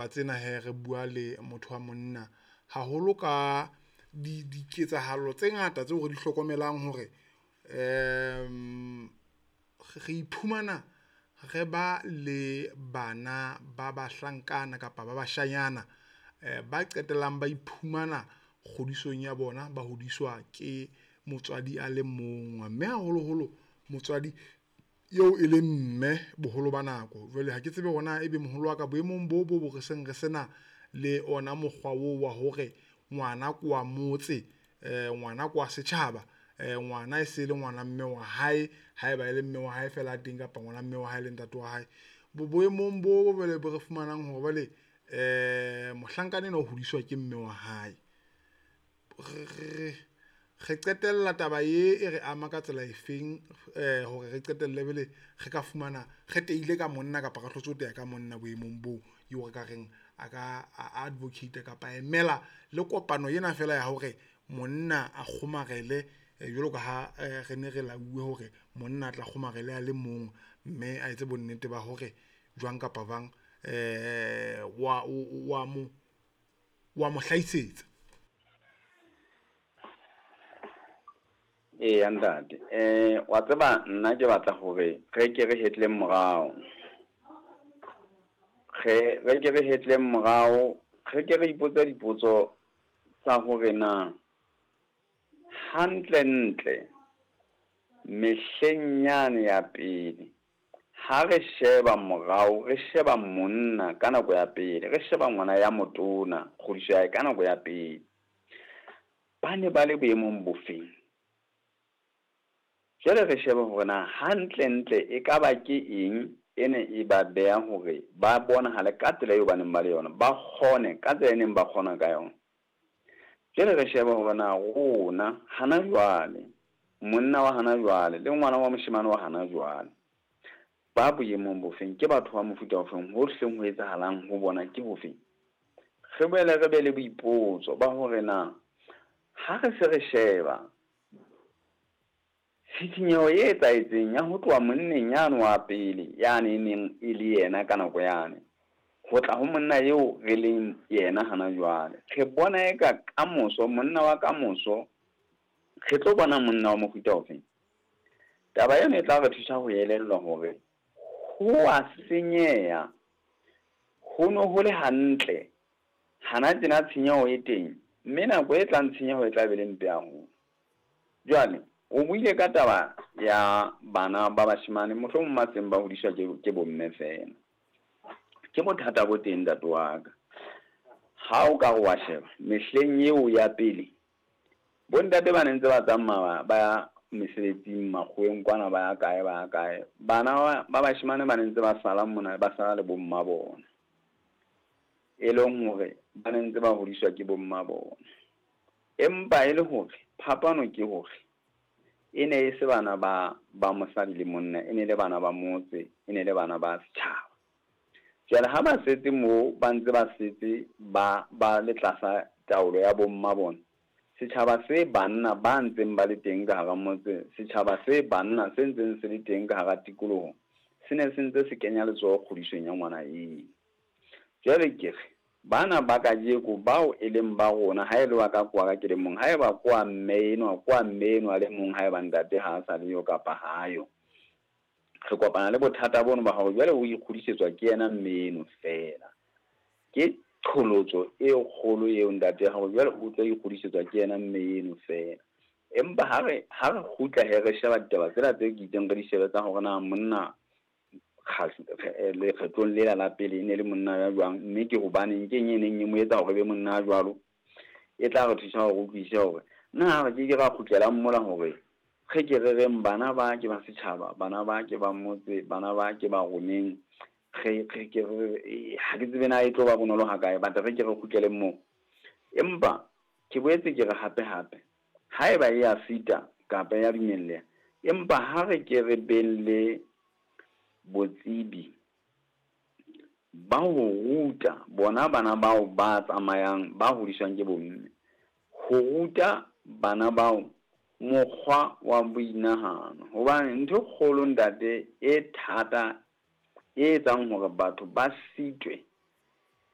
Tsena hee re bua le motho wa monna haholo ka diketsahalo tse ngata tseo re di hlokomelang hore re iphumana re ba le bana ba bahlankana kapa ba bashanyana ba qetellang ba iphumana kgodisong ya bona, ba hodiswa ke motswadi a le mong, mme haholoholo motswadi eo e leng mme boholo ba nako. Jwale ha ke tsebe hore na ebe moholo wa ka boemong bo bo re seng re sena le ona mokgwa oo wa hore ngwana ke wa motse, ngwana ke wa setjhaba, ngwana e se le ngwana mme wa hae haeba e le mme wa hae fela a teng kapa ngwana mme wa hae le ntate wa hae. Boemong bo jwale bo re fumanang hore jwale mohlankana enwa o hodiswa ke mme wa hae, re qetella taba e e re ama ka tsela efeng hore re qetelle jwale re ka fumana re teile ka monna kapa re hlotse ho teya ka monna boemong boo eo re ka reng a ka advocate kapa emela le kopano ena fela ya hore monna a kgomarele jwalo ka ha re ne re lauwe hore monna a tla kgomarele a le mong, mme a etse bonnete ba hore jwang kapa jwang wa mo hlahisetsa. Eya ntate, wa tseba nna ke batla hore re ke re hetleng morao. Re ke re hetleng morao, re ke re ipotse dipotso tsa hore na hantle ntle mehleng yane ya pele ha re sheba morao, re sheba monna ka nako ya pele, re sheba ngwana ya motona kgodiso ya hae ka nako ya pele, ba ne ba le boemong bofeng? Jwale re shebe hore na hantle ntle e ka ba ke eng e ne e ba beha hore ba bonahale ka tsela eo ba neng ba le yona, ba kgone ka tsela e neng ba kgona ka yona. Jwale re shebe hore na rona hana jwale, monna wa hana jwale le ngwana wa moshemane wa hana jwale, ba boemong bofeng, ke batho ba mofuta ofeng, ho hleng ho etsahalang ho bona ke hofeng? Re boele re be le boipotso ba hore na ha re se re sheba tshisinyeho e etsahetseng ya ho tloha monneng yane wa pele yane e neng e le yena ka nako yane, ho tla ho monna eo re leng yena hana jwale, re bona eka kamoso, monna wa kamoso, re tlo bona monna wa mofuta ofeng? Taba eno e tla re thusa ho elellwa hore ho a senyeha, ho no ho le hantle, hana tjena tshenyeho e teng, mme nako e tlang tshenyeho e tla be le mpe haholo. Jwale o buile ka taba ya bana ba bashemane mohlomong ba seng ba hodiswa ke bomme fela. Ke bothata bo teng ntate wa ka. Ha o ka re wa sheba mehleng eo ya pele, bontate ba ne ntse ba tsamaya ba ya mesebetsing makgoweng kwana, ba ya kae ba ya kae, bana ba bashemane ba ne ntse ba sala mona, ba sala le bomma bona, e leng hore ba ne ntse ba hodiswa ke bomma bona. Empa e le hore phapano ke hore e ne e se bana ba mosadi le monna, e ne le bana ba motse, e ne le bana ba setjhaba. Jwale ha ba setse moo, ba ntse ba setse ba le tlasa taolo ya bomma bona, setjhaba se banna ba ntseng ba le teng ka hara motse, setjhaba se banna se ntseng se le teng ka hara tikoloho, se ne se ntse se kenya letsoho kgodisong ya ngwana eo. Jwale ke re bana ba kajeko bao e leng ba rona, ha e le wa ka kwa ka ke le mong, ha eba kwa mme enwa, kwa mme enwa le mong, ha eba ntate ha a sa le yo kapa ha yo, re kopana le bothata bono ba hore jwale o ikgodisetswa ke yena mme eno fela. Ke qholotso e kgolo eo ntate ya hore jwale o tlo ikgodisetswa ke yena mme eno fela. Empa ha re kgutla he re sheba ditaba tsena tse ke itseng re di shebe tsa hore na monna lekgetlong lela la pele e ne le monna ya jwang, mme ke hobaneng ke eng e neng e mo etsa hore be monna ya jwalo, e tla re thusa hore utlwisise hore na re ke ke ra kgutlela mola hore re ke re reng bana ba ke ba setjhaba, bana ba ke ba motse, bana ba ke ba roneng, re ke re ha ke tsebe na e tlo ba bonolo ha kae, but re ke re kgutlele moo. Empa ke boetse ke re hape hape, haeba e ya sita kapa ya dumelleha, empa ha re ke re beng le botsebi ba ho ruta bona bana bao ba tsamayang ba hodiswang ke bomme, ho ruta bana bao mokgwa wa boinahano. Hobane ntho e kgolo ntate e thata e etsang hore batho ba sitwe